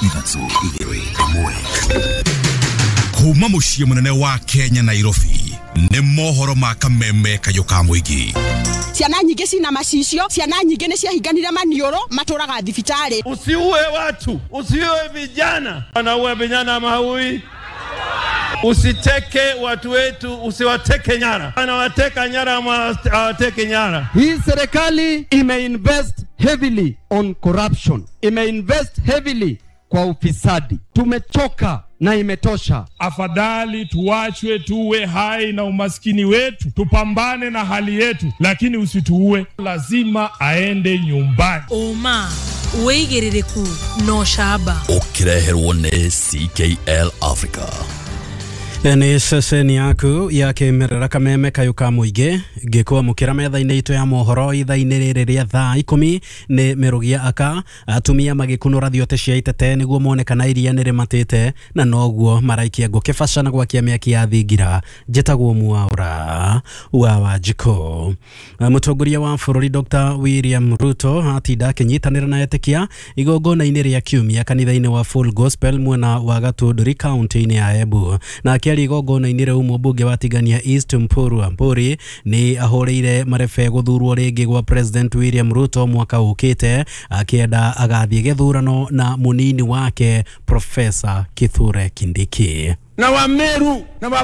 3 1. Kuma muciĩ mũnene wa Kenya Nairobi nĩ mohoro ma kameme kayũ ka mũingĩ. Ciana nyingĩ cina macicio, ciana nyingĩ nĩ ciahinganire maniũrũ, matũraga thibitarĩ. Usiue watu, usiue vijana. Wanaua vijana ama haui? Usiteke watu wetu, usiwateke nyara. Wanawateka nyara ama hawateke nyara? Hii serikali imeinvest heavily on corruption. Imeinvest heavily kwa ufisadi. Tumechoka na imetosha. Afadhali tuachwe tuwe hai na umaskini wetu, tupambane na hali yetu, lakini usituue. Lazima aende nyumbani. Oma wĩigĩrĩrĩku no shaba Ũkĩreherwo nĩ CKL Africa. Nĩ ceceni yaku ya kĩmerera kameme kayũ ka mũingĩ ngĩkwamũkĩra metha-inĩ itũ ya mohoro ithaa-inĩ rĩrĩ rĩa thaa 10 nĩ mĩrũgia aka atumia magĩkunũra thiote cia itete nĩguo mone kana iria nĩ rĩmatĩte na noguo maraikia ngũ kĩbaca na gwakia mĩaki ya thingira. Njĩtagwo Mwaura wa Wanjikũ. Mũtongoria wa bũrũri Dr. William Ruto atinda akĩnyitanĩra na etĩkia igongona-inĩ rĩa kiumia kanitha-inĩ wa Full Gospel mwena wa Gatũndũri kaunti-inĩ ya Embu. Na akĩaria igongona-inĩ rĩu mũmbunge wa Tigania East Mpuru Aburi nĩ ahũrĩire marebe gũthurwo rĩngĩ gwa President William Ruto mwaka ũkĩte, akĩenda agathiĩ gĩthurano na mũnini wake Professor Kithure Kindiki. Na Wameru na